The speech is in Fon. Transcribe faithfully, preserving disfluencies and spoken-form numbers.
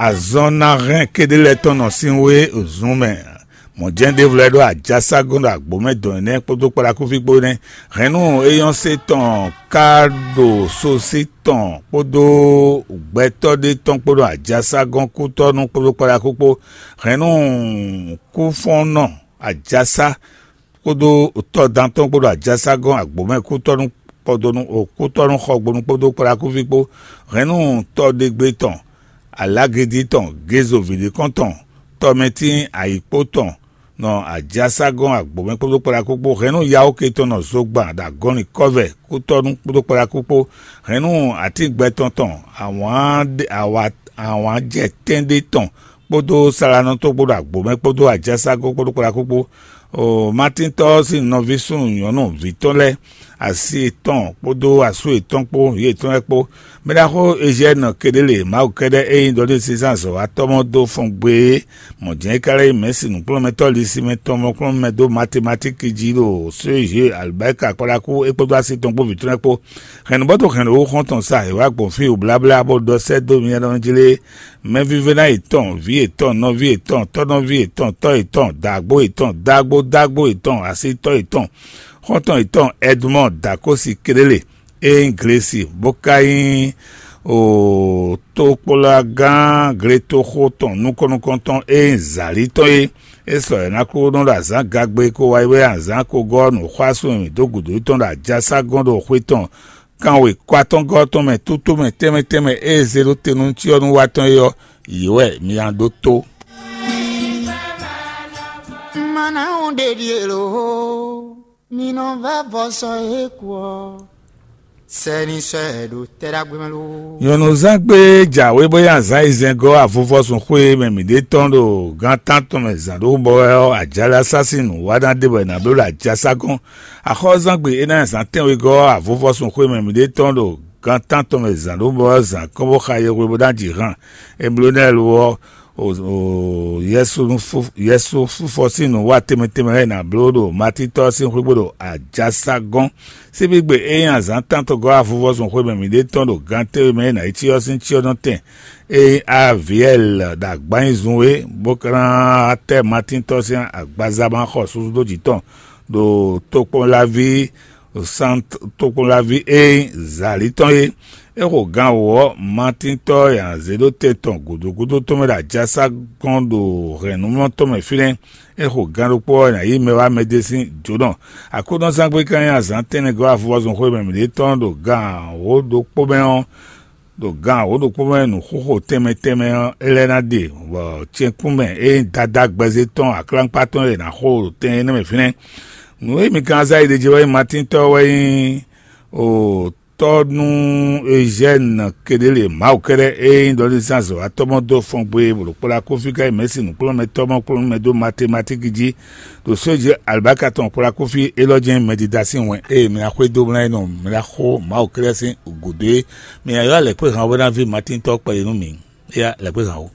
Azɔn ná hɛn kéɖé lɛ́ɛ tɔn nɔ sín wé zun mɛ. Mɔ̌ jɛ́n ɖěvo lɛ́ɛ ɖó ajásá gɔ́n ɖo agbǒ mɛ dɔn énɛ́ kpódó kpaɖakúfí kpó nɛ́. Hɛ̌nnu éyɔ́sé tɔn ka ɖo sosí tɔn kpódó gbɛtɔ́ ɖé tɔn kpó ɖo ajásá gɔ́n kútɔ́nú kpódó kpaɖakú kpó. Hɛ̌nnu kúfɔ́nnɔ ajásá kpódó tɔ́dán tɔn kpódó ajásá gɔ́n agbǒ mɛ kútɔ́nú kpɔdonu kútɔ́nú xɔgbonu kpódó kpaɖakúfí kpó. Hɛ̌nnu tɔ́ɖégbé tɔn, alágédí tɔn, gézo vǐɖékɔ́n tɔn, tɔmɛtín ayǐkpó tɔn, nɔ ajásá gɔ́n agbǒ mɛ kpódó kpaɖakú kpó. Hɛ̌nnu yawóke tɔn nɔ zogban ɖo agɔnlin kɔ́vɛ kútɔ́nú kpódó kpaɖakú kpó. Hɛ̌nnu atín gbɛtɔn tɔn, awǎn jɛ tɛ́nɖé tɔn kpódó salanɔ tɔn kpódó agbǒ mɛ kpódó ajásá gɔ́n kpódó kpaɖakú kpó. Matíntɔ́ ɔ́ sín nɔví súnnu nyɔ̌nu vǐ tɔn lɛ́ɛ, asi yětɔn kpódó asú yětɔn kpó, yě yětɔn lɛ́ɛ kpó. Mɛ ɖaxó Ezyɛ́nɔ Keɖélé, Mawu kɛ́ɖɛ́ e nyí ɖɔɖézínzán azɔ̌watɔ́ mɔ dó fɔn gbe é, mɔ̌ jɛ́n é ka lɛ́ nyí mɛ̌si nǔkplɔ́nmɛtɔ́ lisínmɛ tɔn mɔkplɔ́nmɛ dó matemátíki jí ɖo Sóyezhe Alibáyika kpɔ́ɖákú é kpódó asi tɔn kpó vǐ tɔn lɛ́ɛ kpó. Hɛ̌nnubɔ́ dó hɛ̌nnu xɔ́ntɔn sa è wǎ gbɔn fí wǒbláblá bó ɖɔ sɛ́ dó mi nyanya ɖɔhun jí lé? Mɛvívɛ́ná yětɔn, vǐ yětɔn, nɔví yětɔn, tɔ́nɔví yětɔn, tɔ́ yětɔn, dǎgbó yětɔn, dágbó dágbó yětɔn, asítɔ́ yětɔn, xɔ́ntɔn yětɔn Ɛdmɔ́ɔ Dakósi Keɖélé, e nyí Glesi, bó ka nyí tokplágán gletoxo tɔn nukɔn nukɔntɔn e nyí Zǎlí tɔn é. É sɔ́ yě ná kó nɔ ɖo azǎn gagbe ko wá yi wɛ azǎn ko gɔ́ nǔxwásún e mǐ dó gǔdo tɔn ɖo ajásá gɔ́n ɖo xwé tɔn kanwe kɔ atɔngɔ́ tɔn mɛ tútú mɛ tɛnmɛ tɛnmɛ e zé ɖó te nú cyɔ́núwatɔ́ é ɔ́, yě wɛ mi ná ɖótó. Mana ɖeɖi elo, mi nɔ vɛ vɔsɔ e kú ɔ. Sɛni sɔ ɛ ɖo tɛ ɖagbe mɛ lo. Nyɔ̌nuzán gbé jǎwe bó yá zǎn yi zɛn gɔ́ avuvɔ́sún xwé mɛ mǐ ɖe tɔn ɖo gán tántɔn mɛ zǎn ɖó bɔ wɛ ɔ́, ajǎlasá sín nǔ wa ná ɖe bɔ è nǎ bló ɖo ajásá gɔ́n. Axɔ́zán gbe é ná nyí azǎn tɛ́nwe gɔ́ avuvɔ́sún xwé mɛ mǐ ɖe tɔn ɖo gán tántɔn mɛ zǎn ɖó bɔ wɛ ɔ́, zǎn kɔ́n bó xa yɛhwe bó ná ji han. Eblonélu ɔ́, Yɛsu fífɔ sín nǔ wa tɛnmɛ tɛnmɛ lɛ́ɛ è nǎ bló ɖo Matín tɔ́ ɔ́ sín xwé gbe ɖo ajásá gɔ́n. Síbígbe e nyí azǎn tántɔn gɔ́ avuvɔ́zun xwé mɛ mǐ ɖe tɔn ɖo gan tɛ́nwe mɛ e nǎ yi cyɔ sín cyɔ́nɔtɛn e nyí Aviɛl ɖo agbanyizun é, bó ka ná tɛ́ Matín tɔ́ sín agbaza ma xɔ susu dó jǐ tɔn ɖo tokpɔnlaví tokpɔnlaví e nyí Zali tɔn é. É xo gan wǒ ɔ́, Matín tɔ́ e azě ɖó te tɔn gǔdo gúdo tɔn mɛ ɖo ajásá gɔ́n ɖo hɛ̌nnumlɔ tɔn mɛ fínɛ́. É xo gan ɖokpó ɔ́, è nǎ yí mɛ wá mɛɖé sín jǒnɔ. Aklúnɔzángbe ka nyí azǎn tɛ́nnɛ gɔ́ avuvɔzun xwé mɛ mǐɖée tɔn ɖo gan wǒ ɖokpó mɛ ɔ́, ɖo gan wǒ ɖokpó mɛ nǔxoxo tɛnmɛ tɛnmɛ ɔ́, é lɛ́ ná ɖe, bɔ cɛnkún mɛ e nyí Dadá gbɛzé tɔn aklánkpá tɔn e è nǎ xo ɖo tɛn énɛ́ mɛ fínɛ́. Nǔ e mi kan zá yi ɖe jɛ wɛ nyí Matín tɔ́ wɛ nyí o tɔ́ nú Ezyɛ́ni Keɖélé Mawu kɛ́ɖɛ́ e nyí ɖɔlízán zɔ̌watɔ́ mɔ dó fɔn gbe bolo kplá kófí ká yi mɛ̌si nǔkplɔ́nmɛtɔ́ mɔ kplɔ́nmɛ dó matemátíki jí, ɖo sójě alibáka tɔn kplá kófí élɔ́ jɛ́n mɛdídá sín wɛn e mi ná xwedó mlá é nɔ mi ná xo Mawu kɛ́ɖɛ́ sín gǔdo é. Mi ná ylɔ́ alɛ̌kpéhan ɔ́ bó ná ví Matín tɔ́ kpɛɖé nú mi. Éyá, alɛ̌kpéhan ó.